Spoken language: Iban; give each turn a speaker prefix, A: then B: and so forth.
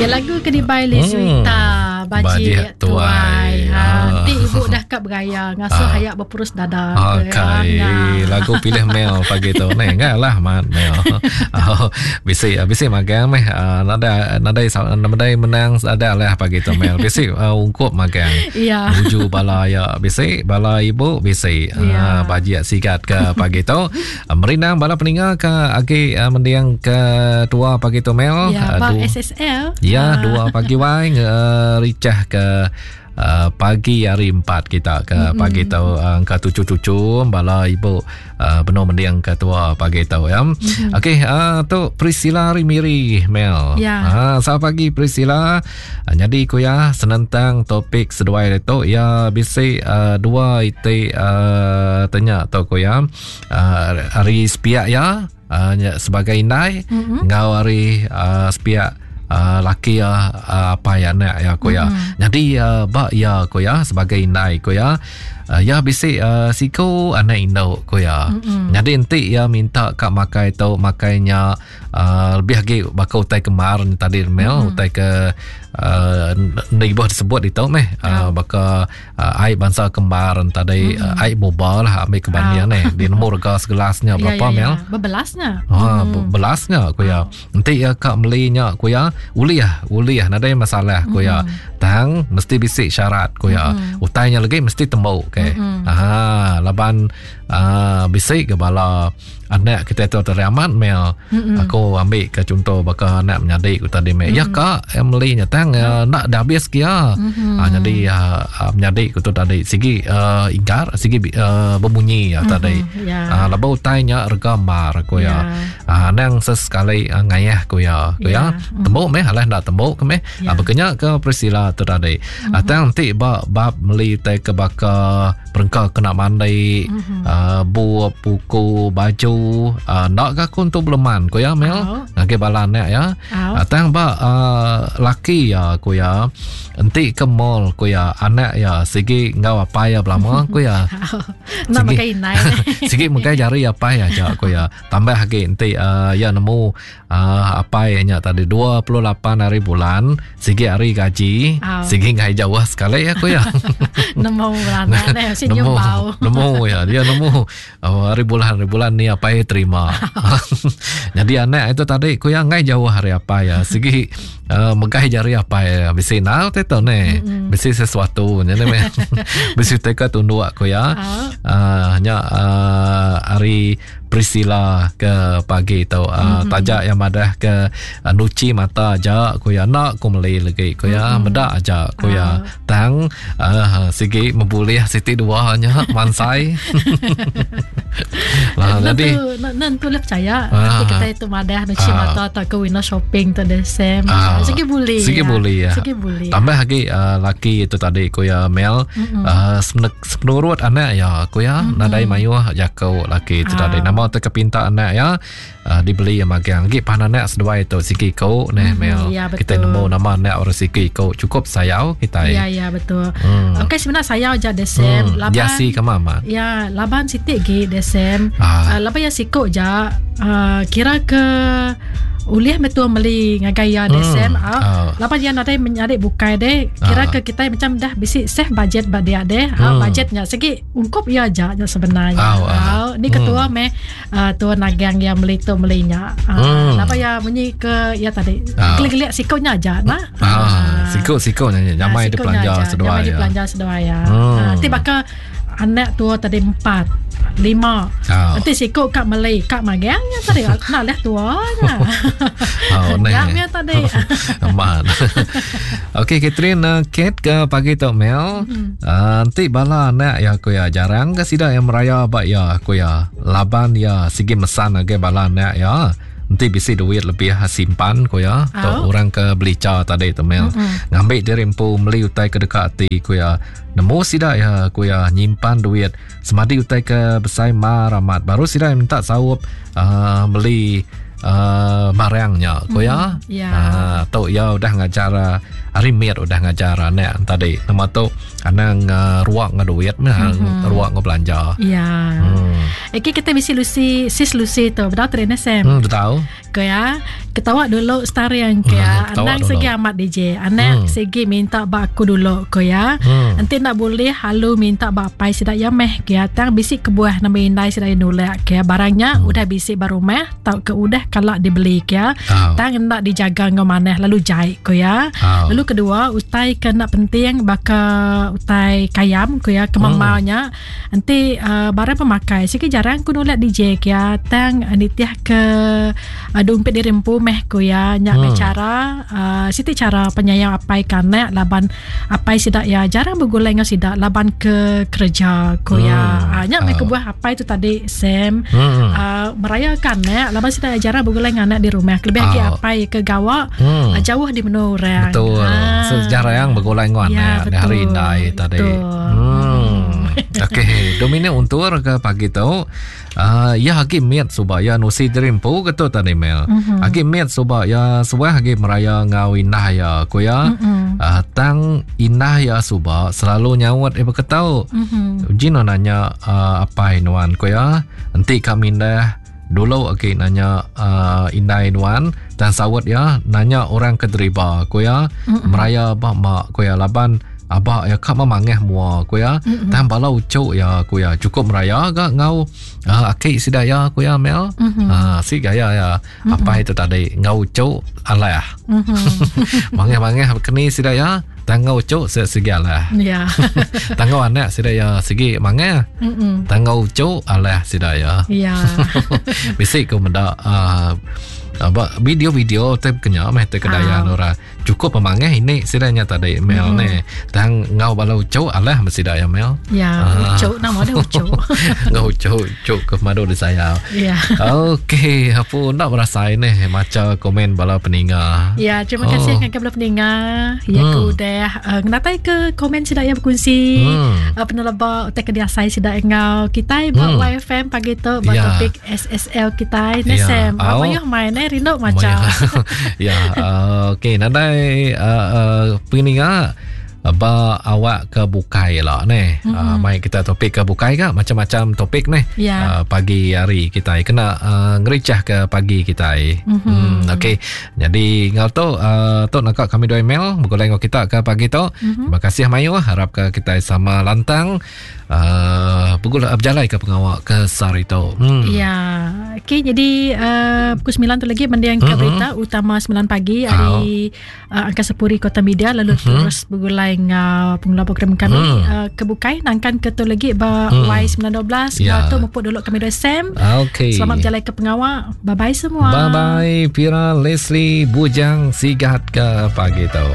A: Ya lagu ke dibai Lizuita Bajik Tuai. Ha enti ibu dah ka beraya ngasuh ha. ayak berpurus dada.
B: Okey. Lagu pilih Mel pagi tu ni enggak lah mat Mel. Oh, bisi bisi magang meh nadai nadai nadai menang ada lah pagi tu Mel. Bisi uh, ungkup magang.
A: Ya.
B: Nuju bala ya bisi bala ibu bisi ya. uh, bajik sigat ke pagi tu. Merindang bala peninga ke agi uh, mendiang ke tua pagi tu Mel.
A: Ya, uh, SSL.
B: Ya, uh. dua pagi wai ngericah ke uh, pagi hari empat kita ke mm-hmm. pagi tu uh, angka tucu-tucu bala ibu uh, benar mendiang ke tua pagi tu ya. Mm-hmm. Okey, uh, tu Priscilla Rimiri Mel.
A: Ya.
B: Uh, selamat pagi Priscilla. Uh, jadi ku ya senentang topik seduai tu ya bisi uh, dua iti uh, tanya tu ku ya. Uh, hari sepiak ya uh, sebagai indai mm-hmm. enggau hari uh, sepiak uh, laki ya uh, apa ya anak ya ku ya. Mm-hmm. Jadi uh, ba ya ku ya sebagai indai ku ya uh, ya bisi uh, siku anak induk ku ya. Mm-hmm. Jadi enti ya minta ka makai tu makainya uh, lebih lagi baka utai kemar ni tadi Mel mm-hmm. utai ke uh, ibuh disebut itu meh uh, baka uh, ai bansa kembar tadi mm-hmm. uh, ai boba lah ambil ke banding uh. ni di nemu rega segelasnya ya, berapa
A: ya, ya,
B: Mel
A: berbelasnya
B: ha mm. belasnya ku ya enti ya ka belinya ku ya ulih ulih nadai masalah ku ya mm. tang mesti bisi syarat ku ya mm. utainya lagi mesti tembuk ke mm. ha laban uh, bisi ke bala anak kita tu tadi amat mel mm-hmm. aku ambil ke contoh baka anak menyadi ku tadi mel mm-hmm. ya kak Emily nya tang uh, nak dah habis kia mm-hmm. uh, jadi uh, menyadi ku tu tadi sigi uh, ingkar sigi uh, berbunyi ya mm-hmm. tadi yeah. uh, laba utai nya rega mar ku ya yeah. uh, nang sesekali uh, ngayah ku ya ku ya yeah. tembuk meh alah ndak tembuk ke meh yeah. uh, bekenya ke Priscilla tu tadi mm-hmm. uh, tang ti ba bab meli tai ke baka perengka kena mandi mm-hmm. uh, bup buku baju uh, nak ke aku untuk beleman ku ya Mel oh. ngagai bala anak ya oh. uh, tang ba uh, laki ya ku ya enti ke mall ku ya anak ya sigi enggau apai ya belama ku ya
A: nak makai inai
B: sigi makai jari apai aja ku ya tambah lagi enti uh, ya nemu uh, apai nya tadi 28 hari bulan sigi hari gaji oh. sigi ngai jauh sekali ya aku ya
A: nemu bulan ne
B: nemu nemu ya dia nemu oh, hari bulan hari bulan ni apai terima jadi anak itu tadi ku ya ngai jauh hari apa ya sigi uh, megai jari apa ya bisi nal te tu ne bisi sesuatu nya ne bisi teka tunduk aku ya uh, nya uh, hari Priscilla ke pagi tu uh, mm-hmm. taja yang madah ke uh, nuci mata aja ku ya nak ku meli lagi ku ya mm-hmm. meda aja ku ya uh. tang uh, sigi membulih siti dua nya mansai
A: lah jadi nan tu lah percaya uh, kita itu madah nuci uh, mata atau ke window shopping tu deh Sam uh, sigi boleh
B: sigi
A: ya.
B: boleh ya
A: sigi boleh
B: tambah lagi uh, laki itu tadi ku ya Mel mm-hmm. uh, Sepenurut anak iya, ku iya, mm-hmm. nadai mayuh jaku laki tu tadi. Ah. Nama tu ke pinta anak iya, uh, dibeli iya magang. Agi pan anak seduai tu sigi iku neh mm-hmm. Mel.
A: Ya,
B: kita nemu nama anak orang sigi iku cukup sayau kita.
A: Ya, ya betul. Mm. Okey sebenarnya sayau aja desem.
B: Mm. Laban Jasi ke mama.
A: Ya, laban siti gi desem. Ah. Uh, laban ya siku ja uh, kira ke ulih betul meli ngagai iya deh hmm. Sam ah oh. laban iya nadai menyadi bukai deh kira ah. ke kita macam dah bisi save budget ba dia deh ah. hmm. budget nya segi ungkup iya aja nya sebenarnya oh, ah. ni ketua hmm. meh uh, tua nagang iya meli tu meli nya uh, hmm. laban iya munyi ke iya tadi ah. gelik-gelik siko nya aja nah
B: ah. ah. siko-siko nya nyamai di belanja seduai
A: nyamai di belanja seduai ya hmm. ti baka Anak tua tadi empat, lima. Oh. Nanti siku kak Malay, kak magang nya tadi. Nak leh tua nya.
B: Oh,
A: nya tadi.
B: Aman. Okey, Catherine, uh, Kate ke pagi tu Mel. Mm-hmm. Uh, nanti bala anak ya aku ya jarang ke sida yang meraya ba ya aku ya. Laban ya sigi mesan age bala anak ya. Enti bisi duit lebih simpan ku iya tu orang ke belicha tadi tu Mel. Mm-hmm. Ngambi diri empu meli utai ke deka ati ku iya. Nemu sida iya ku iya nyimpan duit semadi utai ke besai mar amat baru sida minta saup uh, meli uh, barang nya ku iya.
A: Mm-hmm. Yeah.
B: Uh, tu iya udah ngajar uh, Ari mit udah ngajar anak tadi. Nama tu anang uh, ruak ngau duit meh, mm-hmm. ruak ngau belanja.
A: Ya. Hmm. Okey kita bisi Lucy, sis Lucy tu. Betul tu Sam?
B: Hmm, betul.
A: Ke ya. Ketawa dulu starring ke ya. Hmm, Anang segi amat DJ. Anak hmm. segi minta ba aku dulu ke ya. Hmm. Enti nak boleh halu minta ba apai sidak ya meh ke ya. Tang bisi kebuah nama indai sidak ya nulak ke ya. Barangnya hmm. udah bisi ba rumah tau ke udah kala dibeli ke ya. Oh. Tang enda dijaga enggau manah lalu jai ko ya. Oh. Lalu kedua utai ke enda penting baka utai kayam ko ya kemamau hmm. nya enti uh, barang pemakai sigi jarang ku nulak DJ ke ya tang uh, nitih ke uh, dumpit diri empu meh ko ya nya hmm. cara uh, siti cara penyayang apai ke anak laban apai sida ya jarang begulai enggau sida laban ke kerja ko ya. Hmm. Uh, nya meh oh. kebuah apai tu tadi Sam hmm. uh, merayakan anak laban sida jarang begulai dengan anak di rumah kelebih lagi oh. apai ke gawa hmm. uh, jauh di menua orang.
B: Betul. Ha. Sejarah yang begulai dengan ya, anak di hari indai tadi. Hmm. Okey, Dominic untur ke pagi tu. Uh, ya agi mit suba ya nusi jerimpu ke tu tadi Mel. Mm-hmm. Agi mit suba ya suah agi meraya ngau indah ya ku ya. Mm-hmm. Uh, tang indah ya suba selalu nyaut ibu ketau. Mm-hmm. Uji no nanya uh, apai nuan ku ya. Enti ka mindah dulu agi nanya uh, indai nuan dan saut ya nanya orang ke deriba ku ya. Mm-hmm. Meraya ba mak ku ya laban Aba ya ka memangah mua ku ya. Mm-hmm. Tang bala ucuk ya ku ya cukup meraya ga ngau uh, aki sida ya ku ya Mel. Mm-hmm. Uh, si gaya ya mm-hmm. apa itu tadi ngau ucuk alah. Mm-hmm. Mangah-mangah keni sida ya tang ngau ucuk se sigi alah.
A: Ya.
B: Tang ngau anak sida ya sigi mangah. Mm-hmm. Tang ngau ucuk alah sida ya.
A: Ya.
B: Bisi ku meda uh, ba video-video te kenya meh te kedayan ah. orang. Cukup pemangah ini sida nya tadi Mel mm. ni. Tang ngau bala ucuk alah mesti ya Mel.
A: Ya, ah. ucuk nama dia ucuk.
B: ngau ucuk ucuk ke madu di saya.
A: Ya.
B: Okey, apa nak berasai ni maca komen bala peninga.
A: Ya, terima kasih oh. ngagai bala peninga. Ya hmm. ku udah uh, ngenatai ke komen sida yang berkongsi hmm. uh, peneleba utai ke diasai sida ngau kitai ba hmm. YFM pagi tu ba ya. topik SSL kitai ne ya. Sam. Apa oh. main eh rindu maca.
B: Ya, uh, okey nadai uh, uh, penginga ba awak ke bukai lah ne. Mm-hmm. Uh, mai kita topik ke bukai ka macam-macam topik ne.
A: Yeah.
B: Uh, pagi hari kita kena uh, ngericah ke pagi kita. Mm-hmm. Hmm, okey. Jadi ngau tu uh, tu nak kami dua email begulai ngau kita ke pagi tu. Mm-hmm. Terima kasih mayu harap ke kita sama lantang uh, begula berjalai ke pengawa ke sehari tu.
A: Hmm. Ya. Okey, jadi uh, pukul 9 tu lagi mendiang ke mm-hmm. berita utama 9 pagi hari uh, Angkasa Puri Kota Media lalu mm-hmm. terus begulai ngau pengelola program kami mm. uh, ke bukai nangkan ke tu lagi ba mm. Y912 yeah. tu mupuk dulu kami dua Sam.
B: Okey.
A: Selamat berjalai ke pengawa. Bye bye semua.
B: Bye bye Pira Leslie Bujang Sigat ke pagi tu.